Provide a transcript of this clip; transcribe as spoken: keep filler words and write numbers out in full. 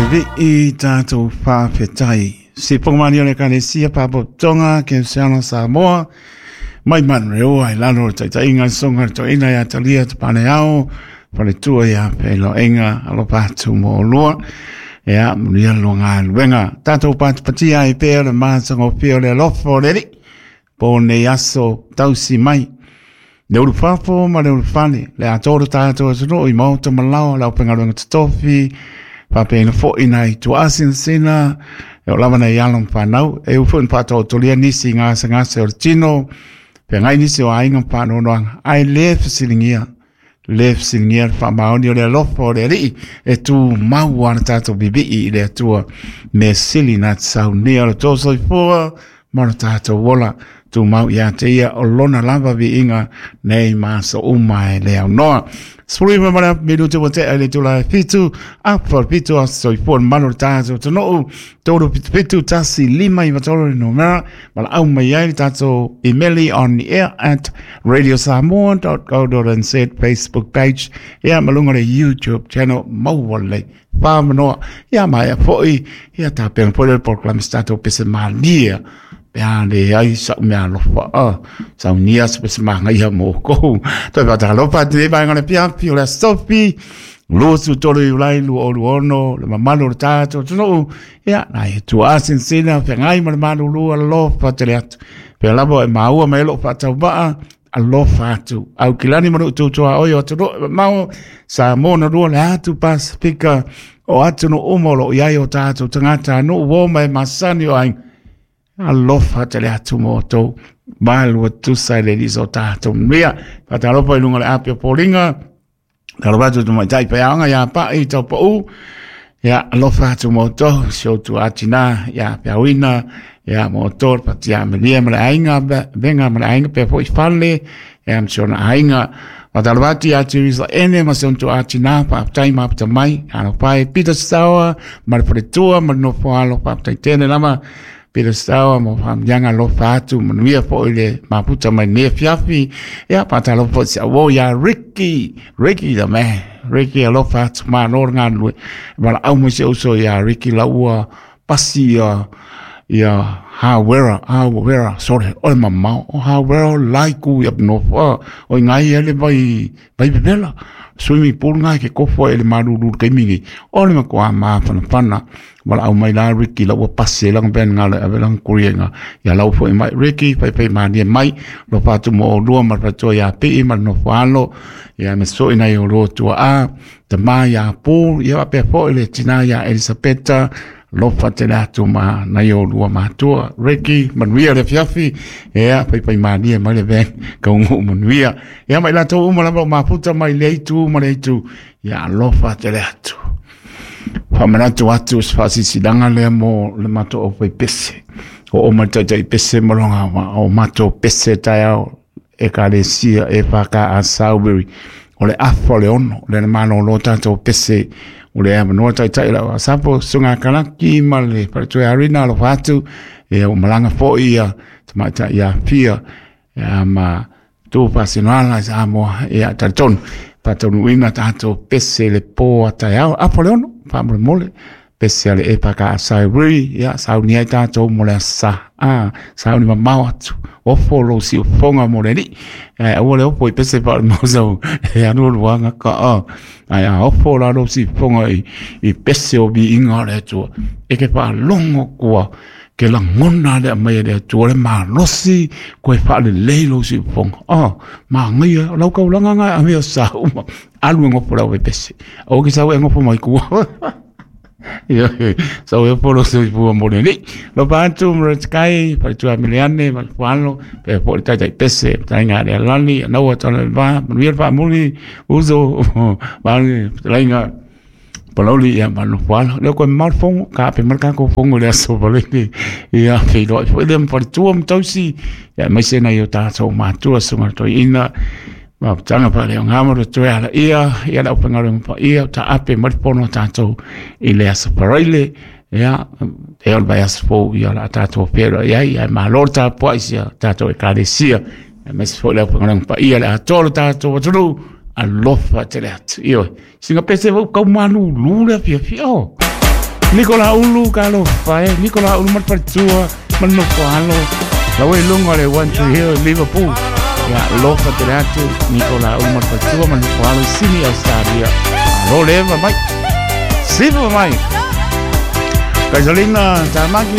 Vivi tātou whawhetai. Si pongmani o le kanesia pāpotonga ke Seana Samoa. Mai manreoa i lalo o taitainga songa to ina ia talia te pane ao. Whare ia pelo enga alopa atu mo lua. Ea munia longa luenga. Tātou pātipatia i pēr le mātanga o pēr le alofa o le ri. Po nei aso tausi mai. Le uru whafo ma le uru whane. Le atoro tātou atuno i mauta malao lau pengaruenga tatofi. Whapena fo ina i tuasin sina. E o lawa nei along whanau. E ufu in pātau tolia nisi ngā ngase o le tino. Pe ngai nisi o ainga whanonoanga. Ai le whasilingia. Le whasilingia wha maoni o le alofa o le rii. E tū mau ana tātou bibii i le atua. Me sili nā te saunia o le tōsoi fua. Mara tātou ola. Tū mau ia te ia o lona lava vi inga nei maso uma e le au noa. Suri ma mara minutu wa te ale tula fitu apa fitu aso i fua manu tātou tonu tolu pitu pitu tasi lima i matoro no mera mala au mai ai tātou email on the air at radio samoa dot co dot n z Facebook page ia malunga le YouTube channel mauale whamanoa ia mai a foi ia tā pena poi le program tātou pese mania pea le ai sa mea alofa a sa unia se pese maanga ia mō kou toi pata alofa te vaenga le pia pio le sofi losu tolu i ulai lu olu ono le mamalu le tātou tonu ia nai e tua sinsina whengai ma le malu lu alofa te le atu pea labo e maua mai lo whatau maa alofa atu au kilani manu tutua oi o atu mau sa mona rua le atu Pasifika o atu no umolo iai o tātou tangata no uo mai masani o ai alofa te le atu mō tō malu tusa le liso tātou mea patalopa i lunga le api o Paulinga talopa atu mai tai peanga ia pa i tau pau ia alofa atu mō tō si o tu atina ia peauina ia mō tō patia melia ma le ainga venga ma le ainga pe fo i fale ia msiona ainga Patalvati atu isa ene ma se onto atina pa aptai ma apta mai alopa e Peter Sauer ma le wharetua ma le nofo alo pa aptai tene lama Peter Sauer mo whamyanga lofa atu manuia fo ile maputa mai ne fiafi ia patalofa si awo ia Ricky Ricky the man Ricky alofa atu ma no ngā nui mala au mo se uso ia Ricky laua pasi ia ia Hawera Hawera sorry o mama o Hawera laiku ia no o ngai ele vai vai bebela swimming pool ngai ke kofo ele maruru ke mingi o le ko ma fana fana wala au mai la Ricky la ua pasi lang ben ngale avelang kurienga ia lau fo mai Ricky pai pai mani mai lo patu mo lua ma pato ia pe ma no falo ia me so ina yo ro tua a te mai ia Paul ia pe fo ele tina ia Elisabetta lofa te atu ma na yo lua matua Ricky manuia le fiafi ia pai pai mani mai le ben ka ungu manuia ia mai la to uma la maputa mai le tu ma le tu ia lofa te atu Whamanatu atu sfasisilanga le mo le mato o pai pese. O o matai pese molonga ma o mato pese taiao e kalesia e whaka a Salisbury. O le afo le ono le mano lo tātou pese o le amanoa taitai lau a sapo sunga kalaki ma le paratue arina lo whatu e o malanga fo ia tamaita ia pia ia ma tū pasinoala sa moa ia taritonu. Patonu ina tātou pese le pō ataiao apo le ono whamole mole pese ale e paka a Salisbury ia sauni ai tātou mo le asa a sauni mamao atu ofo lo si ufonga mo le ni e aua le opo i pese pa le mausau e anu luanga ka a ai a ofo la lo si ufonga i, i pese o bi inga le atua e ke pa longo kua ke langona le mai le atua le malosi koe wha le leilo si ufonga ah ma ngai lau kau langa ngai a mea sa uma alu e ngopo lau e pese o ki sau e ngopo mai kua ia sau e polo se pua mo le ni lo patu mo kai pa tu amiliane ma palo pe po tai tai pese tai nga le lani na wa tona ba mo pa muli uzo ba le nga Palauli ia manu wala le ko mal fongo ka pe mal ka ko fongo le aso pale ni ia fe lo fo le pa tu am tausi ia mai se na yo ta so ma tu so ma to ina ma tanga pa le ngamo to ala ia ia la pa ngaro pa ia ta ape mal pono ta to i le aso paraile ia e ol vai aso fo ia la ta to pero ia ia ma lo ta po ia ta to e kalesia me se fo le pa ngaro pa ia la to ta to to alofa te le atu. Io, singa pese vau kau malu lu le fia fia o. Nikola Ulu ka lo fae, Nikola Ulu ma le faletua ma le nofo alo. La ua i luga o le One Tree Hill i Liverpool. Ia alofa tele atu Nikola Ulu ma le faletua ma le nofo alo i Sini Australia. Alo leva mai. Sifa mai. Kaisalina Tamaki.